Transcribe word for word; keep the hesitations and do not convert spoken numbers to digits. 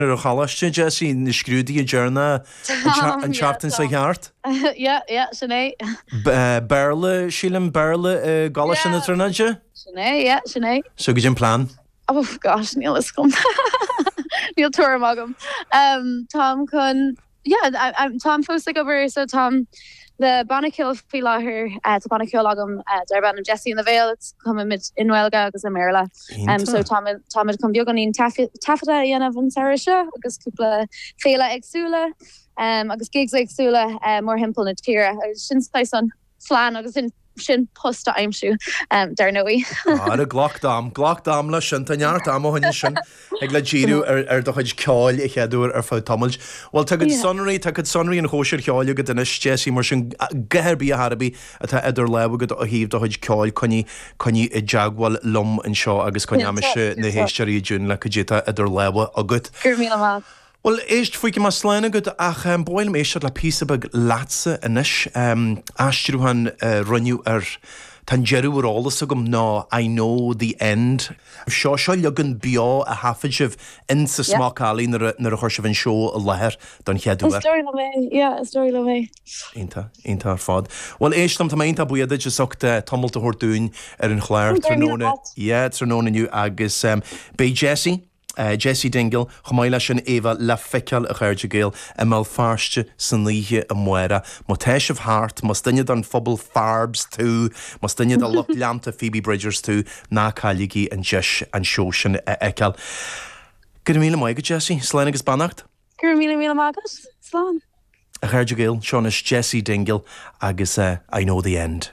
Ar an choláiste Jessie na scrúduithe deireanacha an tseachtain seo thart? Yeah, yeah, sin é. Béarla sílim Béarla i gColáiste na Tríonóide? Sin é, yeah, sin é. So goidé an plean? Oh gosh, níl a fhios agam. Níl tuairim agam. Um, Táim chun yeah, táim fós ag obair so táim le banna ceoil faoi láthair uh, tá banna ceoil agam uh, darb ainm Jessie and the Veil cumaimid i nGaeilge agus i mBéarla. Um, so táimid chun beagáinín taifeadta a dhéanamh an samhradh seo agus cúpla féile éagsúla um, agus gigs éagsúla uh, mórthimpeall na tíre agus sin an plean agus sin sin post a aimsiú um, dar ndóigh. Ara glac d'am, glac d'am le sin tá neart ama chuige sin ag le díriú ar ar do chuid ceoil a chéadúir ar fud tamaill. Well tá cuid sonraí tá cuid sonraí an chóisir cheoil agat anois Jessie mar sin guthair bí a harbí atá idir lámha agat ó thaobh do chuid ceoil coinnigh coinnigh i dteagmháil liom anseo agus coinneoidh mise na héisteoirí i dtiún le cad é atá idir lámha agat. Gur mí amach. Well éist faoi mar slán agat ach um, ba mhaith liom éisteacht le píosa beag leatsa anois um, aistriúchán uh, rinneadh ar Tá deireadh ar eolas agam ná I know the end. Seo seo leagan beo a thaifead sibh in sa Smock Alley nuair a chuir sibh an seó i láthair don chéad uair. Is dóigh liom é, yeah, is dóigh liom é. Iontach, iontach ar fad. Well éist liom tá mé iontach buíoch duit as ucht tamall a thabhairt dúinn ar an chlár tráthnóna yeah, tráthnóna inniu agus um, beidh Jessie Uh, Jessie Dingle chomh maith leis an Éabha le feiceáil a chairde Gael i mBéal Feirste san oíche amárach. Má tá sibh thart, más duine den phobal Farbs tú, más duine de lucht leanta Phoebe Bridgers tú, ná cailligí an deis an seó sin a fheiceáil. Go míle maith agat Jessie, slán agus beannacht? Gur míle míle magus slán. A chairde Gael, seo anois Jessie Dingle agus uh, I know the end.